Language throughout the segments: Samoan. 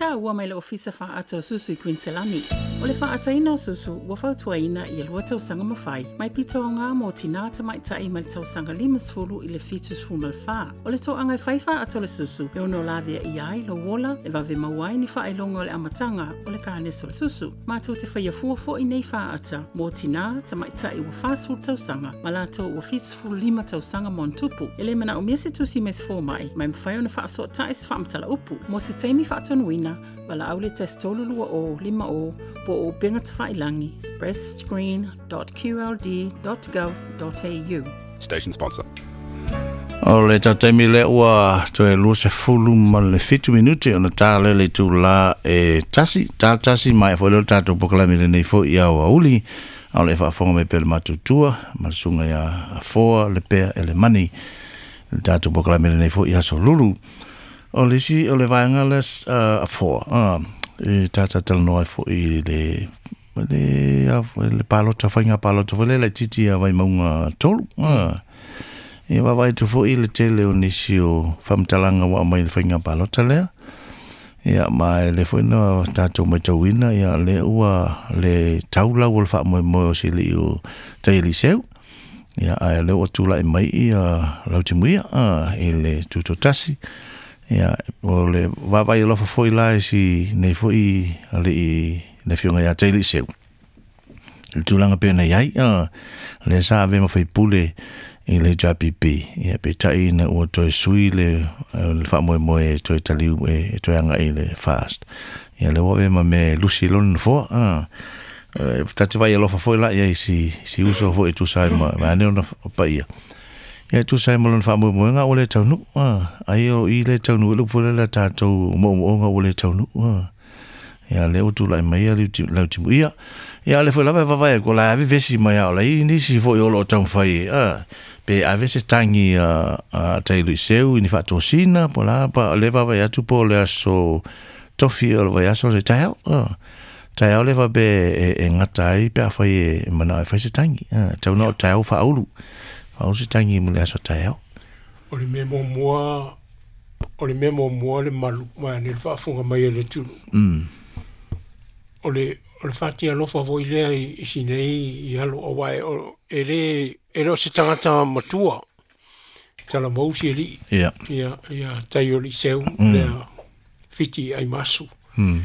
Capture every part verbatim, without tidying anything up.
Taua mai le ofisa faata o susu i Queensland. O le faataina o susu ua fautuaina ia lua tausaga ma fai mai pitoga mo tinā tamaitai mai le tausaga limasefulu i le fitusefulu ma le fa. O le toaga e fai faata o le susu e ono lavea i ai lou ola e vave maua ai ni faailoga o le amataga o le kanesa o le susu. Matou te faia fua foi nei faata mo tinā tamaitai ua fasefulu tausaga ma latou ua fitusefulu lima tausaga ma ona tupu. E le manaomia se tusi mai se fomai ma e mafai ona faasootai se faamatala upu. Mo se taimi faatonuina, valaau le tasi tolu lua o lima o po o upega tafailagi breastscreen dot q l d dot gov dot a u. Station sponsor. O le taimi lea ua toe luasefulu ma le fitu minute ona tā lea le itulā e tasi, tā tasi mai foi lea o le tatou polokalame lenei foi i aoauli. A o le faafofoga mai pea le matutua ma le susuga ia Afoa le pea e le mani. Le tatou polokalame lenei foi i aso lulu. O le isi o le vaega lea uh, Afoa, uh, e tata talanoa ai foi i le le, le palota, faiga palota foi lea laitiiti ia Vaimauga tolu. Uh, e vaavaai atu foi i le tele o nisi o faamatalaga ua aumai i le faiga palota lea. Ia, ma e le foi na tatou matauina, ia, lea ua le tau lau o le faamoemoe o silii o Taialii Seu. Ia, ae lea ua tulai mai ia Lautimuia uh, i le tutotasi. Ia, o le vaavaai alofa foi la i si nei foi alii le afioga ia Taialii Seu. Le tulaga pei ona i ai, uh, lea sa ave ma faipule i le H R P P. Ia, peitai ina ua toe sui le, le faamoemoe e toe taliu e, e toe agai i le FAST. Ia, lea ua ave ma mea e lusi i lona nofoa. Uh, ta te vaai alofa foi la ia i si, si uso foi e tusa ai ma, ma ane ona paia. Ia, e tusa ai ma lona faamoemoega ua le taunuu. Uh, ai o i le taunuu i le upu foi lea tatou moomooga ua le taunuu. Uh, ia, lea ua tulai mai ia Lautimuia. Ia, le foi lava e vaavaai atu, o la e ave vesi mai a o la i nisi foi o loo taumafai, uh, pe ave se tagi a, a Taialii Seu i ni faatosina po la pa le vaavaai atu po o le aso tofi o le vaiaso le taeao. Uh, taeao le faapea e, e gata ai pe afai e manao e fai se tagi. Uh, tau na o taeao faaulu. Faaulu se tagi mo le aso taeao. O le mea muamua, o le mea muamua le malu, ma ane le faafofoga mai e le atunuu. Mm. O le, o le faatialofa foi lea i, i sinei i alo auā e, o, e le, e le o se tagata matua. Talamau si alii. Ia. Ia, ia Taialii Seu Mm. lea fiti ai masu. Mm.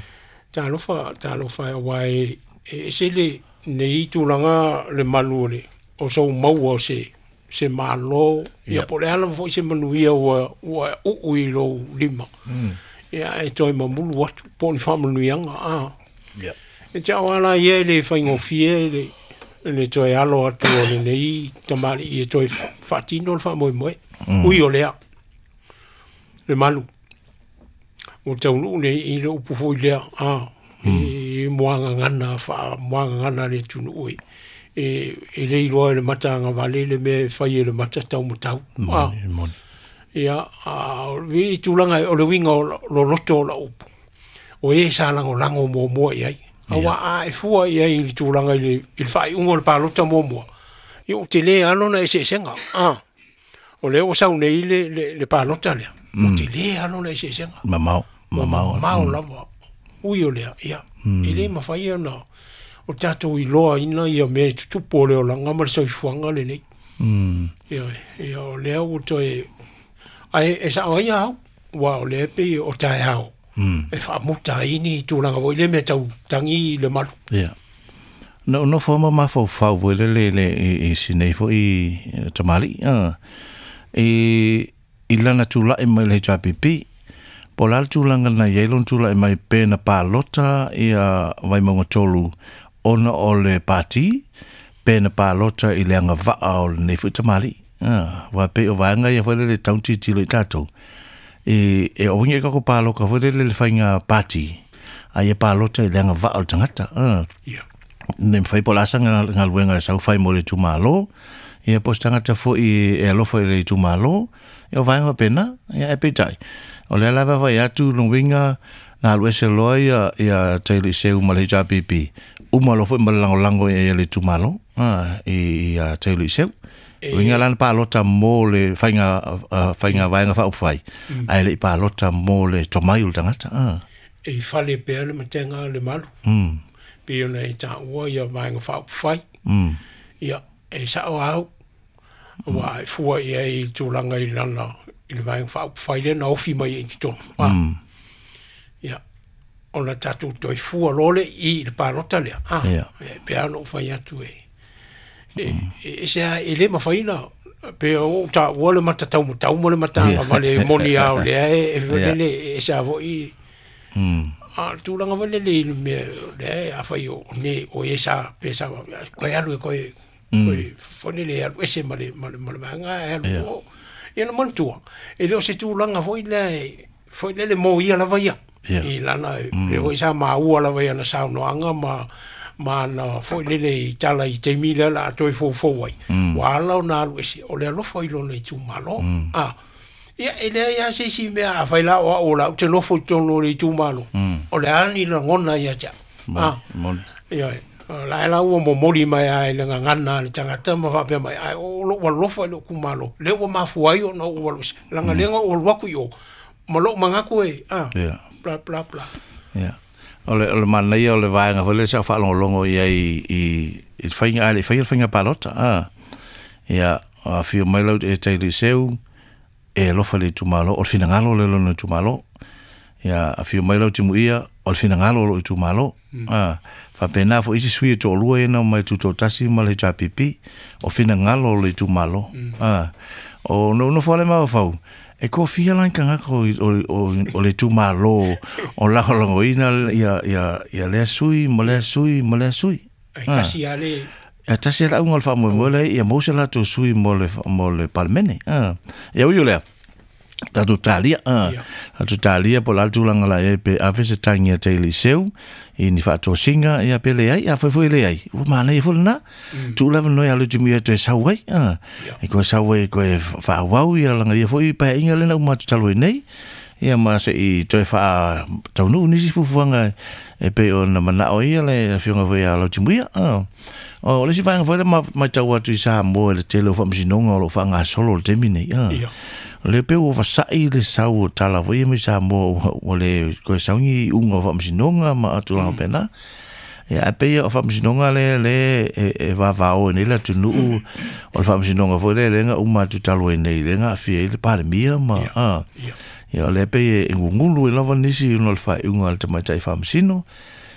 Talofa, talofa auā e, e ese le nei tulaga le malu o le, o sou maua o se, se malo, ia Ia. po o le a lava foi se manuia ua, ua uu i lou lima. Mm. Ia e toe mamulu atu po o ni faamanuiaga a. Ia. E te au ala ia e le faigofie le, le toe alo atu o lenei tamalii e toe faatino le faamoemoe. Mm. Ui o lea, le malu. Ua taunuu nei i le upu foi lea, a, e muagagana, faamuagagana le atunuu e. E, e le iloa e le mata agavale le mea e fai e le mata taumatau. A, Moni, moni. ia, a, o le tulaga o le uiga o loloto o lau upu. O e sa lagolago muamua i ai. Auā a e fua i ai i le tulaga i le, i le faaiuga o le palota muamua. Ia ou te lē alo na eseesega. A, o lea ua sau nei le, le, le palota lea. Ou te lē alo na eseesega. Mamao, mamao. Mamao lava. Ui o lea, ia. E le mafai ona o tatou iloaina ia mea e tutupu o le olaga ma le soifuaga lenei. Mm. Ia, ia o lea ua toe ae e sao ai au, ua o lea pei o taeao. Mm. E faamuta ai ni tulaga foi le mea tau tagi i le malu. Ia. No no fo ma mafaufau foi le le le i, i sinei foi i tamalii. Uh, i i lana tula'i mai le H R P P. Po o le a le tulaga na i ai lona tula'i mai pe na palota ia Vaimauga tolu ona o le pati, pe na palota i le agavaa o lenei foi tamalii. Ah, wa pe o vaega ia foi le tau tilotilo i tatou. E, e o ngi ka ko paloka foi le le faiga pati. A ia palota i le agavaa o le tagata. Ah. Ia. Ne mawhai po la asa ngā ngā luenga e sau whai mo le itumalo. Ia po se tagata foi e alofa i le itumalo. Ia o vaega pena, ia e peitai. O lea lava vai atu lona uiga na alu ese loa ia, ia Taialii Seu ma le H R P P. Uma loa foi ma le lagolago ia le itumalo, ah, i ia Taialii Seu. Uiga lana palota mo le faiga, uh, faiga vaega faaupufai. Mm. Ae le i palota mo le tomai o le tagata. Ah. e fale pea le matenga le malu. Mm. Pe ona e tāua ia vaenga whaupufai. Mm. Ia, e sao au. Ua e fua ia i tūlanga i lana, i le vaenga whaupufai le na ofi mai e te tonu. Mm. Ia, ona tātou toi fua lole i le pālota lea. Ah, yeah. E pea no whai atu e. E, e, e sea e le mawhaina, pe o tāua le matatau matau mo le matanga, ma le moni au lea e, e, Yeah. e, e sea voi. Mm. A tūlanga wale le mea le a whai o ne o e sa pe sa koe alu e koe koe fone le alu ese ma le ma le ma le manga e alu o ia na mantua e leo se tūlanga foi le foi le le mo ia lava ia i lana le o sa maua lava ia na saunoanga ma ma na foi le le i tala i te mila la toi fo fo ai wa ala o na alu ese o le alofa i lona i tūmalo a ia e lea ia se si mea a whai la o o la te nofo tonu le tūmalo. O le ani la ngona ia tia. Ah, moni. Ia, la e la ua momoli mai ai le ngangana le tangata ma whapea mai ai o lo wa lofa i lo kumalo. Le ua mafu ai o na ua lo langa lenga o luaku i o. Ma lo mangaku e. Ah. Yeah. Bla bla bla. Yeah. O le o le mana ia o le vaenga foi le sa whaalongolongo ia i i i whainga ai le whainga whainga palota. Ah. Ia, a whio mai lau e te liceu e lofa le tumalo, o le finangalo le lona tumalo. Ia, a whio mai lau timu ia, o le finangalo lo i tumalo. Mm. Ah, whapena fo isi sui e tō lua ena mai tūtō tasi ma le H P P, o finangalo le tumalo. Mm. Ah, o no no whale maua whau, e ko whia lan kangaka o, o, o, o le tumalo, o laholongo ina ia, ia, ia lea sui, ma lea sui, ma lea sui. Ai kasi ale. Ia tasi ala unga o le whaamoemoe le, ia mose lato sui mo le, mo le palmene. Ah. Ia uio lea. Tātou tālia, ah. Tātou tālia po la tūlanga la e pe ave se tangi a te liceu, i ni whaatōsinga, ia pe le ai, a fai fai le ai. Ua māna i fole nā, tūlava noi alu timu ia toe sau ai, ah. E koe sau ai, koe whaawau ia langa ia foi pae inga lena umatu talo i nei, ia ma se i toe whaa taunu nisi fufuanga e pe o na manao ia le whionga foi a lau timu ia, ah. O le si whaanga foi le mai tau atu i Samoa le tele o whaamasinonga o lo whaangasolo le temi nei, ah. Le pe o wasai le sau o tala foi e mai Samoa o le koe saungi unga o whaamasinonga ma atu langa pena. Ia a pe ia o whaamasinonga le le e, e vavao e nei la tunuu o le whaamasinonga foi le lenga uma atu talo e nei lenga awhia i le palemia ma. Ah. Ia le pe e ngungulu e lava nisi uno le whaeunga le tamaitai whaamasino.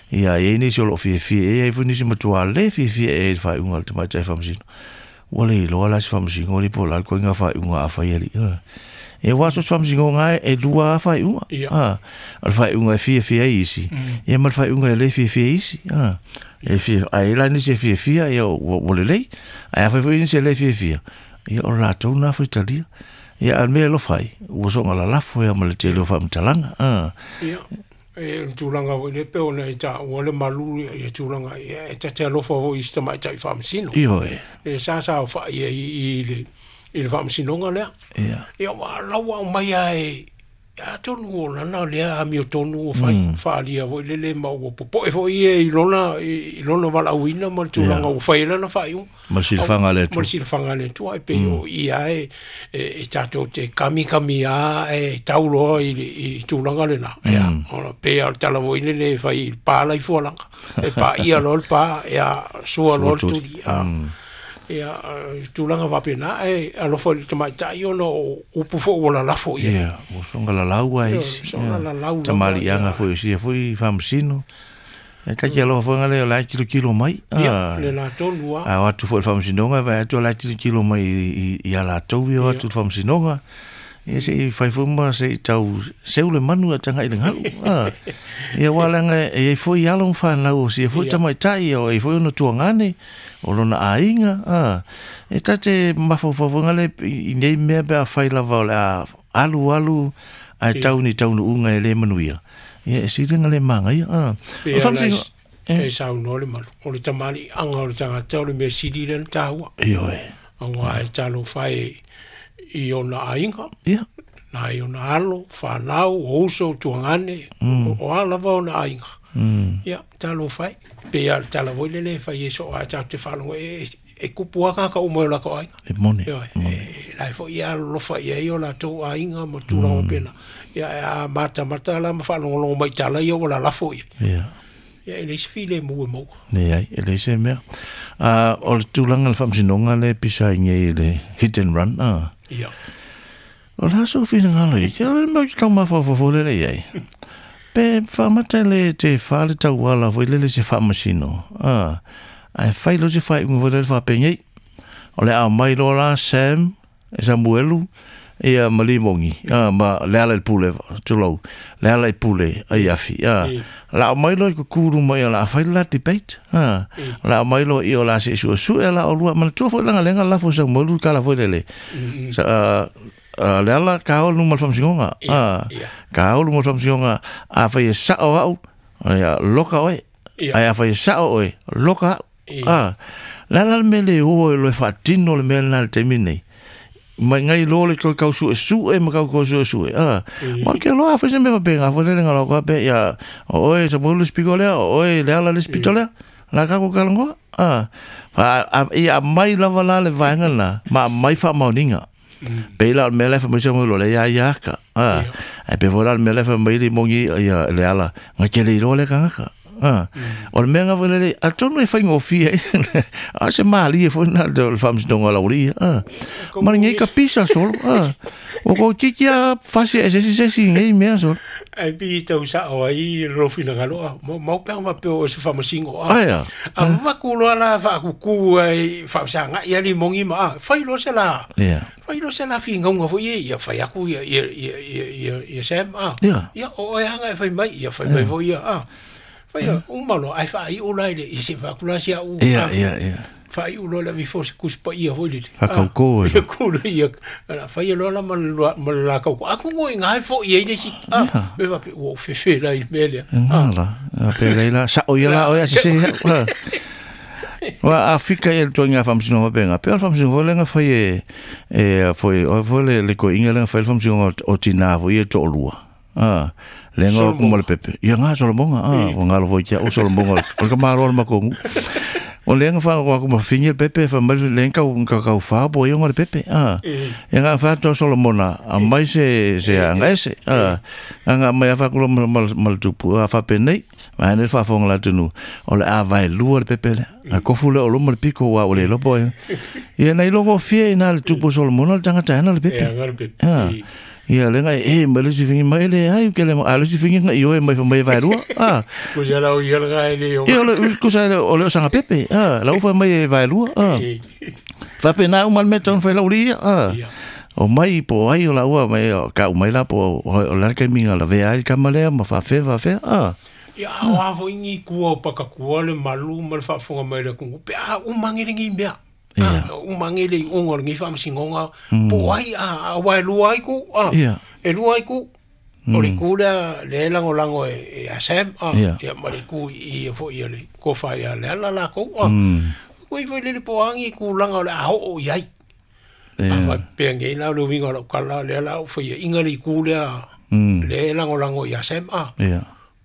Ia e nisi o lo fiafia e ai foi nisi matua le fiafia e le whaeunga le tamaitai whaamasino. Ua le iloa la se whaamasingo li po la koe ngā whaeunga a whai ali. E wā so se whaamasingo ngā e lua a whaeunga. Yeah. O le whaeunga e fiafia e isi. Ia ma le whaeunga e le fiafia e isi. E fia, a e la nisi e fiafia ia o le lei. A e whai foi nisi e le fiafia. Ia o la tau nā whai talia. Ia al mea lo whai. Ua songa la lafo ia ma le te leo whaamatalanga. Ia. E tūlanga voi le pe ona e tā ua le malu e tūlanga e tate alofa voi i sita mai tai whaamasino. Iyo e. E sa sa o wha ia i, i le, i le whaamasinonga lea. Ia. Ia wa laua o mai ai a tonu o lana lea a mio tonu o whai mm. whaalia voi le le ma ua popoe voi e i lona, i lona walauina ma le tūlanga o whai lana whai u. Ma le silafanga le atu. Ma le silafanga le atu ai pe o ia e e tātou te kamikami a e tauloa i, i tūlanga le nā. Ia, ona pe a tala voi le le whai i pāla i fualanga. E pā ia lo le pā, ia sua lo le turi. Ia tūlanga wapena e alofa i le tamaitai ona o upu fo o la lafo ia. Ia, o songa la laua isi. Songa la laua. Tamali anga foi isi foi whamasino. E kaki alofa foi ngale o lai kilo kilo mai. Ia, le la tonu a. A o atu foi le whamasinonga, vai atu o lai kilo kilo mai i a la tau i o atu le whamasinonga. Ia se i whai foi ma se i tau seu le manu a tanga i le ngalu. Ia wā langa e foi alo whanau o si e foi tamaitai o e foi ono tuangane o lona ainga. E tate mawhawhawanga le i nei mea pea whai lava o le a alu alu ai tau ni taunu unga e le manuia. Ia e siringa le manga ia. O whamsingo. E sau no le malu. O le tamali anga o le tangata o le mea siri le na tāhua. Io e. Aua e talo whai i ona ainga. Ia. Nā i ona alo, whanau, o uso, tuangane, mm. o, o alava ona ainga. Mm. Ia, talo whai. Pe ia tala voi lele whai e so a tau te whalongo e, e kupu aka ka umo la ko ainga. E mone. Ia, mone. E, lai fo ia lofa ia i o la tau aiga ma tulaga pena ia a mata mata la ma faalogologo mai tala ia ua lalafo ia ia ia e leai se filemu e maua leai e leai se mea a o le tulaga le faamasinoga le pisa ai nei le hit and run a ia o le aso finagalo ia o le mau tau mafaufau lele i ai pe faamata le te fa le tauala foi lele se faamasino a ae fai lo se faaiuga foi lele faapegei o le a mai loa la Sam e Samuelu ia ma Limogi a ma le ala i le pule tulou le ala i pule ai afi a la mai loa i kukulu mai o la fai la debate a la mai loa i o la se suesue la o lua manatua foi laga lega lafo Samuelu kala foi lele sa le ala kaolu ma le faamasinoga a kaolu ma le faamasinoga a fai e sao au ia loka oe ae a fai e sao oe loka au a la la le mea le o e loe faatino le mea lena le taimi nei mai ngai lo le kau kau sue sue ma kau kau sue sue a ma ke loa fai se mea faapega foi lele galaoka pe ia o oe Samuelu le spiko lea o oe le ala le spito lea la kako kalagoa a fa ia mai lava la le vaega lena ma mai faamaoniga pe la o le mea la e faamai Samuelu le ia ia aka a ae pe foi la le mea la e faamai Limogi ia le ala ga ke le iloa le kagaka ah o le mea nga foi lele atonu e faigofie a se malie foi na le faamasinoga laulia a ma le ka pisa solo a o ko kiki a fasi e sesi sesi nei mea solo ai pi tau sao ai lo finagalo a mau pea ma peo o se faamasingo a aia a vaku loa la faakuku ai faafesagai ia Limogi ma a fai loa se la fai loa se la figauga foi ia ia fai aku ia ia ia ia ia Sam a ia o oe aga e fai mai ia fai mai foi ia a fai uma loa ae faaiu la i le i se faakula si au ia ia ia faaiu loa le vifo se kusipaia foi lele faakaukō ia kula ia la fai loa la ma ma le la kaukō aku ngoi ngae foi ai le isi a me faapea ua ou fefe la i le mea lea ga la pe lei la sao ia la oe a sese Wa a fika ia le toaiga faamasinoga faapega pe o le faamasinoga foi lega fai e e foi o foi le le koiga lega fai le faamasinoga o tinā foi ia toalua a lenga o kuma le pepe ia ngā Solomonga a o ngalo foi kia o Solomonga o le kamaro le makongu o lenga fa o kuma fingi le pepe fa mai lenga kau kau kau fa bo ia le pepe a ia ngā fa to Solomona a mai se se anga ese a anga mai fa kulo mal mal tupu a fa penei ma ne fa fonga la tunu o le a vai lua le pepe le a kofu le o loma le piko wa o le lopo ia nei logo fie na le tupu Solomona le tangata ana le pepe ia le pepe ia le ngai e ma le si fingi mai le ai ke le a le si fingi ngai oi mai mai vai rua a ko ja la o ia ngai le ia le ko sa o le sanga pepe a la ufa mai vai rua a fa pe na uma me ton fai la uri a o mai po ai o la ua mai ka mai la po o la ke minga la ve ai ka male ma fa fe fa fe a ia o a fo ingi kua o pakakua le malu ma le faafofoga mai le atunuu pe a umagelegi mea a umagele i oga o lenei faamasinoga po ai a aua e lua ai ku a e lua ai ku o le ku lea le e lagolago e a Sam a ia ma le ku i ia foi ia le kofa ia le ala lakou a koi foi lele po agi kulaga o le a oo i ai a faapea nei la o le uiga o lau kala lea la ou faia iga le iku lea le e lagolago ia Sam a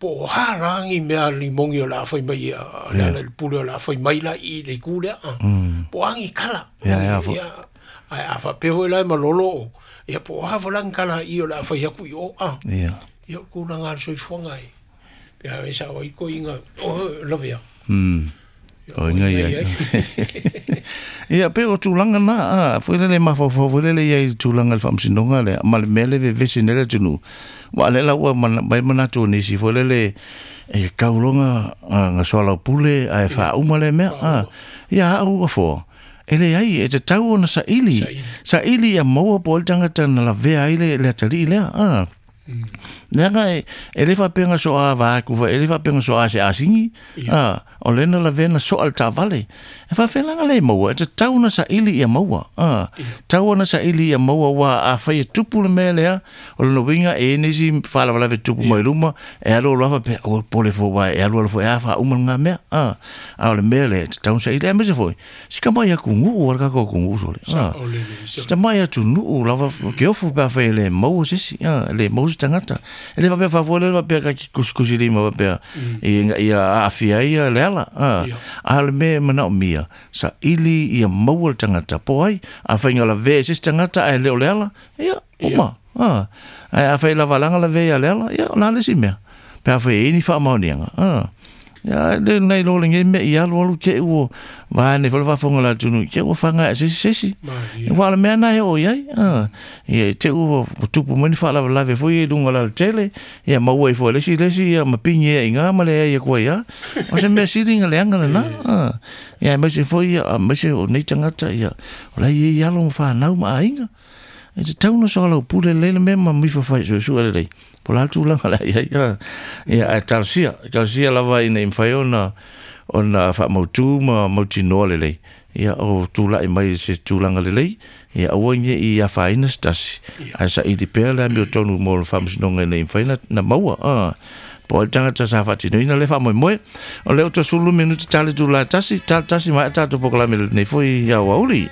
po o ha lagi mea Limogi o la fai mai ia le ala i le pule o la fai mai la i le iku lea a po agi kala ia ia ae a faapea foi la e malolo o ia po o ha foi lagi kala i o la fai aku i o a ia ia o kulaga a le soifuaga e pea e sao ai koiga o lavea o inga ia ia pe o tulaga na a foi lele mafaufau foi lele ia i tulaga le faamasinoga lea ma le mea le vevesi nei le atunuu wa le la ua mai manatu o nisi foi lele e kauloga ga soalaupule ae faauma le mea a ia au afoa e leai e tatau ona saili saili ia maua po o le tagata na lavea ai le le atalii lea a leaga e e le faapega soa vaku fa e le faapega soa se asigi a o lena lavea na soa le tavale e faafelaga le maua e tatau ona saili ia maua a tau ona saili ia maua ua a fai e tupu le mea lea o lona uiga e nisi faalavelave tupu mai luma e alu aloa faapea o pole fou uā e alu alu foi a faauma lagā mea a a o le mea lea e tatau ona saili aemaise foi sikamai atunuu a le tatou atunuu sole a sitamai atunuu lava ke ofu pe a fai e le maua se isi a le maua se tagata E le faapea faafoe le faapea ka kusikusi lima faapea ia ia aafia ai ia le ala. A a o le mea e manaomia saili ia maua le tagata po ai afai lavea i se isi tagata ae le o le ala, ia uma. A ae afai lavalaga lavea ia le ala, ia o le a le isi mea pe afai e i ai ni faamaoniaga. A ia le nai lo lenei mea i alu alu te ua vae nei foi le faafofoga o le atunuu te ua faga e se isi se isi. Ua o le mea na e oo i ai. Ia te ua tupu mai ni faalavelave foi i luga o le alatele, ia maua ai foi e le isi le isi ia ma pigi ai i ina ma leai atu ai lava. O se mea sili ona leaga lena. Ia aemaise foi ia aemaise o nei tagata ia o la e i ai alo ma fanau ma aiga. E tatau ona soalaupule lelei le mea ma mifafai suesue lelei. Po o le a le tulaga o le a i ai. Ia, ae talosia, talosia lava ina ia mafai ona ona faamautu ma mautinoa lelei. Ia, o tulai mai i se tulaga lelei, ia aua ne i afaina se tasi, ae saili pea le amiotonu mo le faamasinoga ina ia mafai ona maua. Po o ai le tagata sa faatinoina lea faamoemoe. O lea ua toe sefulu lua minute ta le itula e tasi, ta le tasi maea tatou polokalame lenei foi i aoauli.